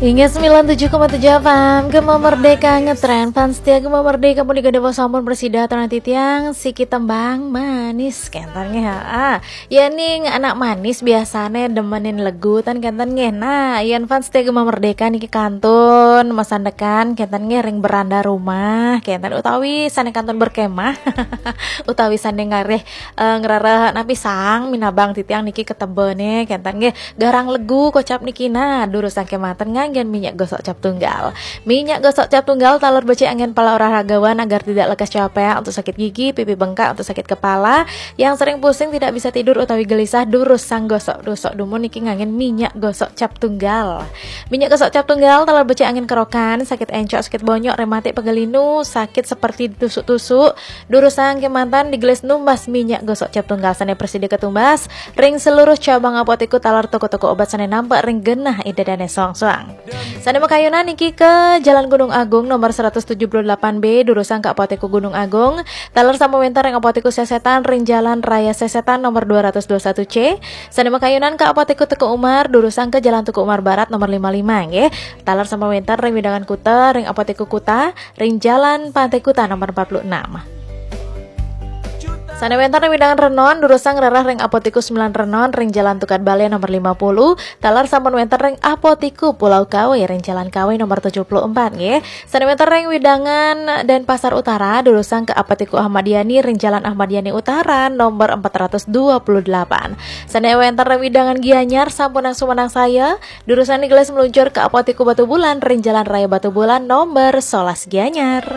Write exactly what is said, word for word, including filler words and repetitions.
Inggih sembilan tujuh koma tujuh F M, Gema Merdeka ngetren. Fans setia Gema Merdeka, punika dewa sampun prasida aturang titiang, siki tembang manis, kenten nggih, ha. Yen ning anak manis biasane demenin legu ten kenten nggih. Nah, yen fans setia Gema Merdeka niki kantun masandekan kenten nggih ring beranda rumah, kenten utawi sane kantun berkemah, utawi sane ngarih, eh, ngrereh napi sang minabang titiang niki ketebene kenten nggih. Garang legu kocap niki, nah, durusang kemawon nganggen minyak gosok cap tunggal. Minyak gosok cap tunggal taler becik anggen para olahragawan agar tidak lekas capek, untuk sakit gigi, pipi bengkak, untuk sakit kepala, yang sering pusing, tidak bisa tidur utawi gelisah, durusang gosok-gosok dumun niki nganggen minyak gosok cap tunggal. Minyak gosok cap tunggal taler becik anggen kerokan, sakit encok, sakit bonyok, rematik, pegal linu, sakit seperti tusuk-tusuk, durusang kemawon digelis numbas minyak gosok cap tunggal sane prasida katumbas ring seluruh cabang apotek taler toko-toko obat sane nampek ring genah ida dane soang-soang. Sane makayunan niki ke Jalan Gunung Agung nomor seratus tujuh puluh delapan B, durusang ke Apotek Gunung Agung, taler sampun wenten ring Apotek Sesetan ring Jalan Raya Sesetan nomor dua ratus dua satu C. Sane makayunan ke Apotek Teuku Umar, durusang ke Jalan Teuku Umar Barat nomor lima lima nggih. Taler sampun wenten ring wewidangan Kuta ring Apotek Kuta ring Jalan Pantai Kuta nomor empat puluh enam. Sane wenten ring wewidangan Renon, durusang ngrereh ring Apotek sembilan Renon ring Jalan Tukad Bale nomor lima puluh, taler sampun wenten ring Apotek Pulau Kawe ring Jalan Kawe nomor tujuh puluh empat nggih. Sane wenten ring wewidangan Denpasar Utara, durusang ke Apotek Ahmad Yani ring Jalan Ahmad Yani Utara nomor empat ratus dua puluh delapan. Sane wenten ring wewidangan Gianyar sampunang sumanangsaya, durusang digelis meluncur ke Apotek Batubulan ring Jalan Raya Batubulan nomor sebelas Gianyar.